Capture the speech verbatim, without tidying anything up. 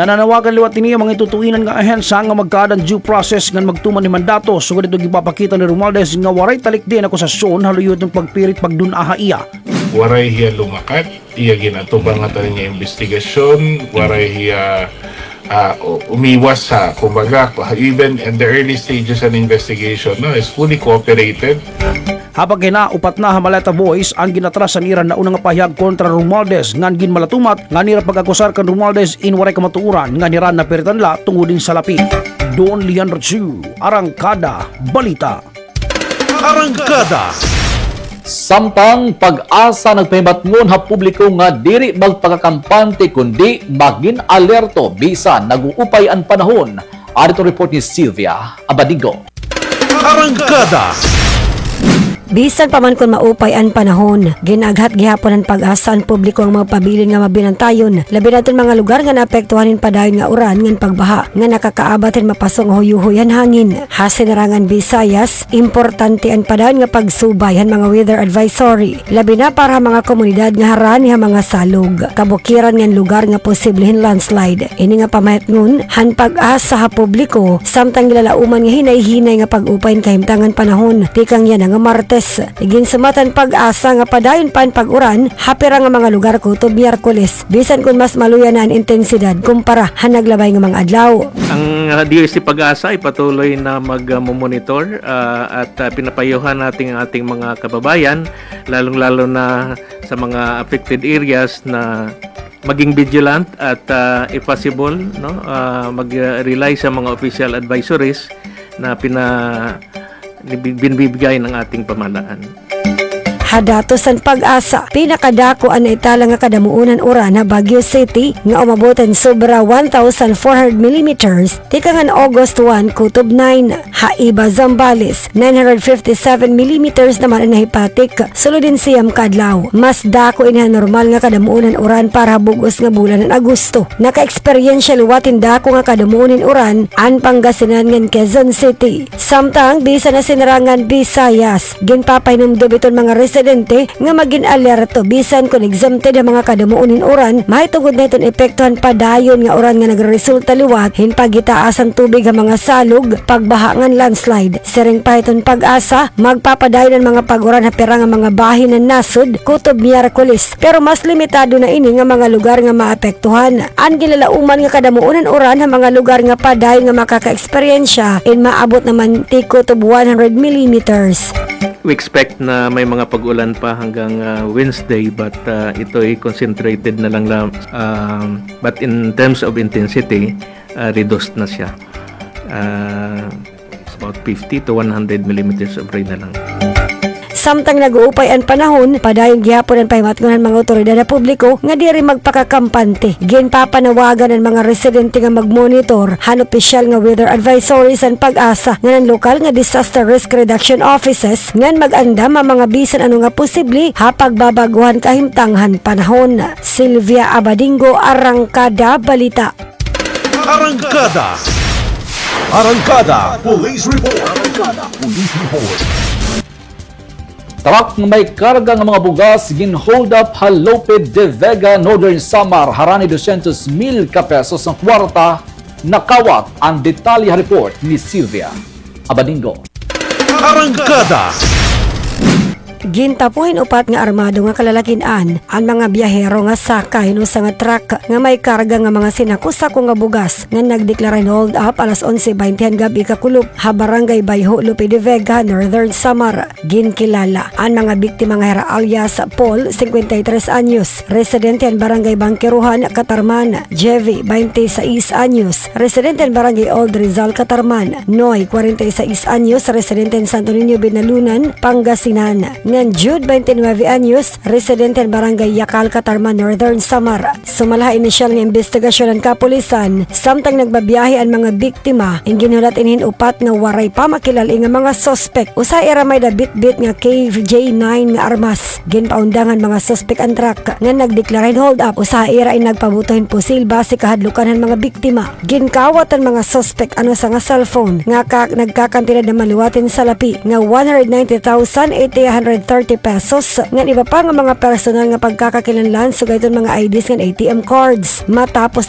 Nananawagan liwat ini an mga itutuinan nga ahensya nga magkaada hin due process ngan magtuman hin mandato, sugad hito ginpapakita ni Romualdez nga waray talikdi an akusasyon ha luyo hiton pagpirit pagdun-a ha iya. Waray hiya lumakat, iya ginatubang ngatanan nga imbestigasyon, waray hiya, ah, u-, umiwas ha, kumbaga, even in the early stages an investigation, no, is fully cooperated. Ha pagkahinaupat na ha Maleta Voice, an ginatras an ira nauna nga pahayag kontra Romualdez ngan ginmalatumat ngan ira pag-akusar kan Romualdez in waray kamatuoran ngan hira napiritan la tungod hin salapi. Don Leandro Chu, Arangkada Balita. Arangkada. Samtang PAGASA nagpahimatngon ha publiko nga diri magpakakampante kundi magin alerto bisan nag-uupay an panahon. Adto report ni Sylvia Abadingo. Arangkada. Bisan pa man kon maupay an panahon, gin-aghat gihapon han PAGASA an publiko nga magpabilin nga mabinantayon, labi na iton mga lugar nga naapektuhan hin padayon nga uran ngan pagbaha nga nakakaabat hin mapaso nga huyuhoy han hangin. Ha Sinerangan Visayas, importante an padayon nga pagsubay han mga weather advisory, labi na para ha mga komunidad nga harani ha mga salog, kabukiran ngan lugar nga posible hin landslide. Ini nga pamahetngon han PAGASA ha publiko, samtang ginlalauman nga hinay-hinay nga pag-upay hin kahimtangan panahon tikang yana nga Martes. Iginsumat han PAGASA nga padayon pa an pag-uran ha pira nga mga lugar kutob Miyerkules, bisan kon mas maluya na an intensidad kumpara han naglabay nga mga adlaw. Ang, ah, D O S T PAGASA ay patuloy na mag, ah, monitor, ah, at, ah, pinapayuhan natin ang ating mga kababayan, lalong-lalo na sa mga affected areas, na maging vigilant at, ah, if possible, no, ah, mag, ah, rely sa mga official advisories na pina-, binibigay ng ating pamahalaan. Ha datos han PAGASA, pinakadako an naitala nga kadamuon han uran ha Baguio City nga umabot hin sobra one thousand four hundred millimeters tikang han August one kutob nine. Ha iba, Zambales, nine hundred fifty-seven millimeters naman an nahipatik sulod hin siyam ka adlaw. Mas dako ini han normal nga kadamuon han uran para ha bug-os nga bulan han Agosto. Naka-eksperyensya liwat hin dako nga kadamuon hin uran an Pangasinan ngan Quezon City. Samtang bisan ha Sinerangan Visayas, ginpapahinumdom iton mga residente nga magin alerto bisan kon exempted ha mga kadamuon hin uran, mahitungod na hiton epekto han padayon nga uran nga nagreresulta liwat hin paghitaas han tubig ha mga salog, pagbaha ngan landslide. Siring pa hiton PAGASA, magpapadayon an mga pag-uran ha pira nga mga bahin han nasod kutob Miyerkules, pero mas limitado na ini nga mga lugar nga maapektuhan. An ginlalauman nga kadamuon han uran ha mga lugar nga padayon nga makakaeksperyensya in maabot naman ti kutob one hundred millimeters. We expect na may mga pag-ulan pa hanggang, ah, Wednesday, but, ah, ito ay concentrated na lang, lang, um, but in terms of intensity, ah, reduced na siya. Ah, it's about fifty to one hundred millimeters of rain na lang. Samtang nag-uupay an panahon, padayon gihapon an pahimatngon han mga awtoridad ha publiko nga diri magpakakampante. Ginpapanawagan an mga residente nga mag-monitor han opisyal nga weather advisories han PAGASA ngan an lokal nga disaster risk reduction offices ngan mag-andam ha mga bisan ano nga posible ha pagbabag-o han kahimtang han panahon. Sylvia Abadingo, Arangkada Balita. Arangkada. Arangkada Police Report. Arangkada Police Report. Truck nga may karga nga mga bugas gin-hold up ha Lope de Vega, Northern Samar, harani dosyentos mil ka pesos nga kwarta nakawat. An detalye ha report ni Sylvia Abadingo. Arangkada. Gintapo hin upat nga armado nga kalalakin-an an mga biyahero nga sakay hin usa nga truck nga may karga nga mga sinako-sako nga bugas nga nagdeklara hin hold up alas onse baynte han gab-i kakulop ha Barangay Bayho, Lope de Vega, Northern Samar. Ginkilala an mga biktima nga hira alias Paul, singkwenta y tres anyos, residente han Barangay Bangkerohan, Catarman, Jevy, baynte sais anyos, residente han Barangay Old Rizal, Catarman, Noy, kwarenta y sais anyos, residente han Santo Niño, Binalunan, Pangasinan, ngan Jude, baynte nuwebe anyos, residente han Barangay Yacal, Catarman, Northern Samar. Sumala ha inisyal nga imbestigasyon han kapulisan, samtang nagbabiyahe an mga biktima, in ginhulat ini hin upat nga waray pa makilal-i nga mga suspek. Usa ha ira may-ada bitbit nga K J nine nga armas. Ginpaundang han mga suspek an truck nga nagdeklara hin hold up. Usa ha ira in nagpabuto hin pusil base kahadlukan han mga biktima. Ginkawat han mga suspek an usa nga cellphone nga ka-, nagkakantidad naman liwat hin salapi nga one hundred ninety thousand eight hundred thirty pesos, ngan iba pa nga mga personal nga pagkakakinahanglan, sugad hiton mga I Ds ngan A T M cards. Matapos